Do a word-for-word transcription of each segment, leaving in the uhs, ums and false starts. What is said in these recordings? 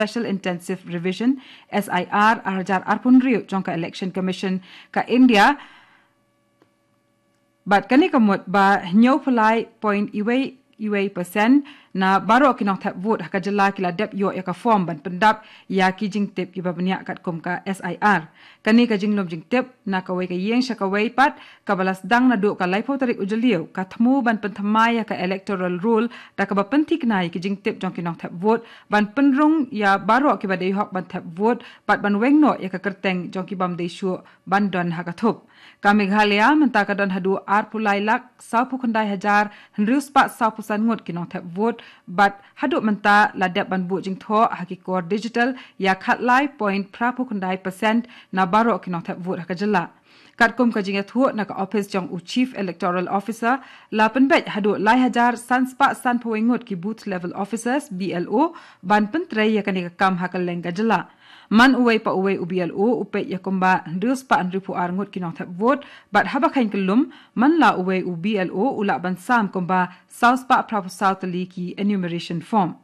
Special Intensive Revision, S I R, arhajar arphew hynriew jong ka Election Commission ka India. Bad kane ka mut ba hynñiew phaw point wei wei percent na baroh ki nongthep vote ha ka jylla ki la dep ïoh ïa ka form ban pyndap ïa ki jingtip kiba bniah katkum ka S I R. Kane ka jinglum jingtip na kawei ka ïing sha kawei pat, kaba la sdang naduh ka laiphew tarik u Jylliew, ka thmu ban pynthymmai ïa ka electoral roll da kaba pynthikna ïa ki jingtip jong ki nongthep vote, ban pynrung ïa baroh kiba dei hok ban thep vote, bad ban weng noh ïa ka kyrteng jong ki bym dei shuh ban don ha ka thup. Ka Meghalaya mynta ka don haduh arphew lai lak sawphew khyndai hajar hynriew spah sawphew san ngut ki nongthep vote, bad haduh mynta la dep ban buh jingthoh ha ki kor digital ïa khatlai point phraphew khyndai percent na baroh ki nongthep vote ha ka jylla. Katkum ka jingïathuh na ka ophis jong u Chief Electoral Officer, la pynbeit haduh lai hajar san spah sanphew wei ngut ki Booth Level Officers, B L O, ban pyntrei ïa kane ka kam ha kylleng ka jylla. Man uwei pa uwei u B L O u peit ïa kumba hynriew spah hynriewphew ar ngut ki nongthep vote, bad haba kheiñ kyllum, man la uwei u B L O u lah ban sam kumba saw spah phraphew saw tylli ki enumeration form.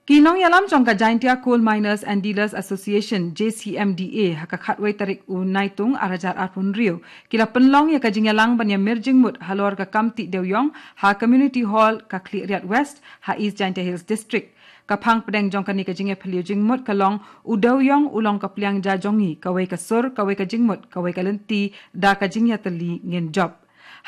Ki nongïalam jong ka Jaintia Coal Miners and Dealers Association, J C M D A, ha ka khatwei tarik u Naitung arhajar arphew hynriew, ki la pynlong ïa ka jingïalang ban ïamir jingmut halor ka kam tih dewïong ha Community Hall ka Khliehriat West, ha East Jaintia Hills District. Ka phang pdeng jong kane ka jingïaphylliew jingmut ka long, u dewïong u long ka pliang ja jong ngi, kawei ka sur, kawei ka jingmut, kawei ka lynti, da ka jingïatylli ngin jop.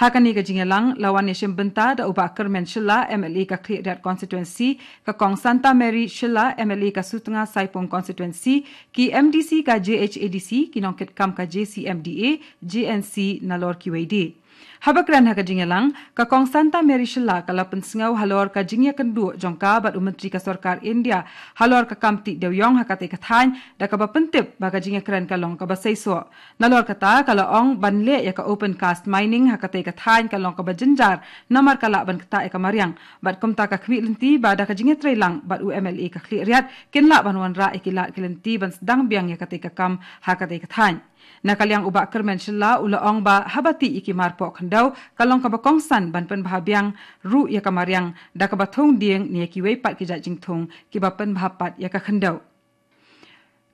Ha kane ka jingïalang, la wan ïashim bynta da u Bah Kyrmen Shylla, M L A ka Khliehriat Constituency, ka Kong Santa Mary Shylla, M L A ka Sutnga Saipung Constituency, ki M D C ka J H A D C, ki nongkitkam ka J C M D A, J N C, nalor kiwei de. Haba kren ha ka jingïalang, ka Kong Santa Mary Shylla ka la pynsngew halor ka jingïakynduh jong ka bad u Myntri ka Sorkar India halor ka kam tih dewïong ha katei ka thaiñ, da kaba pyntip ba ka jingïakren ka long kaba seisoh. Nalor kata, ka la ong ban leh ïa ka open cast mining ha katei ka thaiñ ka long kaba jynjar, namar ka lah ban ktah ïa ka mariang. Bad kumta ka khmih lynti ba da ka jingïatreilang bad u M L A ka Khliehriat, kin lah ban wanrah ïa ki lad ki lynti ban sdang biang ïa katei ka kam ha katei ka thaiñ. Na ka liang u Bah Kyrmen Shylla u la ong ba haba tih ïa ki marpoh khyndew, ka long kaba kongsan ban pynbha biang ruh ïa ka mariang, da kaba thung dieng ne ïa kiwei pat ki jait jingthung kiba pynbha pat ïa ka khyndew.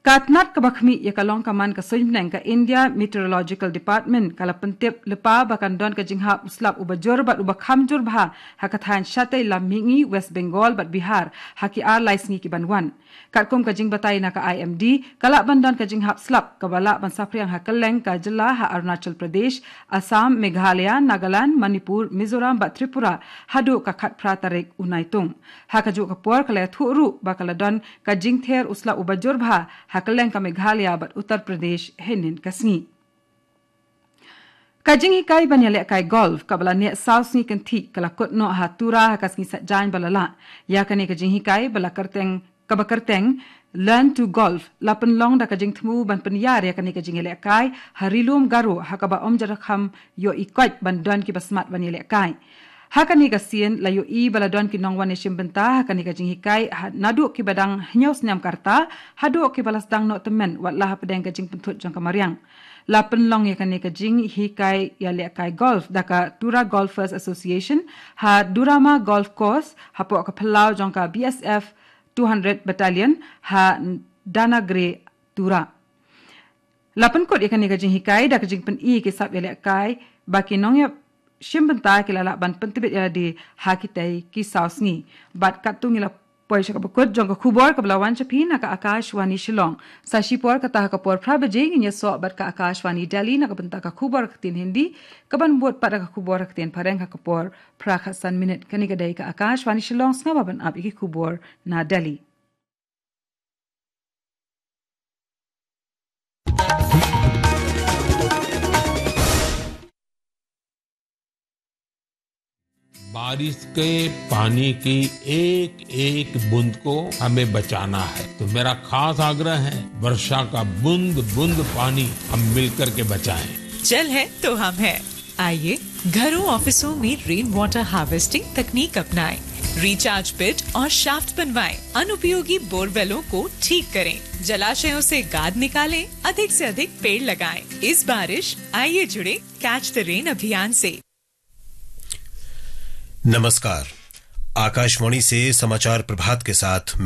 Ka tnat kaba khmih ïa ka long ka man ka suiñ bneng ka India Meteorological Department ka la pyntip lypa ba kan don ka jinghap u slap uba jur bad uba kham jur bha ha ka thaiñ shatei lam mihngi West Bengal bad Bihar ha ki ar lai sngi ki ban wan. Katkum ka jingbatai na ka I M D, ka lah ban don ka jinghap slap kaba lah ban saphriang ha kylleng ka jylla ha Arunachal Pradesh, Assam, Meghalaya, Nagaland, Manipur, Mizoram bad Tripura haduh ka khatphra tarik u Naitung. Ha kajuh ka por ka la ïathuh ruh ba ka la don ka jingther u slap uba jur bha ha kylleng ka Meghalaya bad Uttar Pradesh hynnin ka sngi. Ka jinghikai ban ïalehkai golf kaba la neh saw sngi kynthih ka la kut noh ha Tura ha ka sngi Saitjaiñ ba la lah. Ïa kane ka jinghikai ba la kyrteng, kaba kyrteng Learn to Golf, la pynlong da ka jingthmu ban pynïar ïa kane ka jingïalehkai ha Ri Lum Garo, ha kaba ym jyrkham ïohi koit ban don kiba smat ban ïalehkai. Ha kane ka sien la ïohi ba la don ki nongwan ïashim bynta ha kane ka jinghikai, ha naduh kiba dang hynñiew snem ka rta haduh kiba la sdang noh tymmen, wat la hapdeng ka jingpynthut jong ka mariang. La pynlong ïa kane ka jinghikai ïalehkai golf da ka Tura Golfers Association ha Durama Golf Course, hapoh ka phyllaw jong ka B S F two hundred Battalion ha Danagre, Tura. La pynkut ïa kane ka jinghikai da ka jingpyni ïa ki sap ïalehkai ba ki nongïashim bynta ki la lah ban pyntbit ïalade ha kitei ki saw sngi. Bad katto ngi la poi sha kaba kut jong ka khubor kaba la wan sha phi na ka Akashvani Shillong. Sa shipor kata ha ka por phra baje ngin ïasoh bad ka Akashvani Delhi na ka bynta ka khubor ha ka ktien Hindi, kaban bud pat da ka khubor ha ka ktien Phareng ha ka por phra khatsan minit. Kane ka dei ka Akashvani Shillong, sngap ban ap ïa ki khubor na Delhi. बारिश के पानी की एक एक बूंद को हमें बचाना है। तो मेरा खास आग्रह है, वर्षा का बूंद बूंद पानी हम मिलकर के बचाएं। जल है तो हम हैं। आइए, घरों, ऑफिसों में रेन वाटर हार्वेस्टिंग तकनीक अपनाएं, रिचार्ज पिट और शाफ्ट बनवाएं, अनुपयोगी बोरवेलों को ठीक करें, जलाशयों से गाद निकालें, अधिक से अधिक पेड़ लगाएं। इस बारिश आइए जुड़े कैच द रेन अभियान से। नमस्कार, आकाशवाणी से समाचार प्रभात के साथ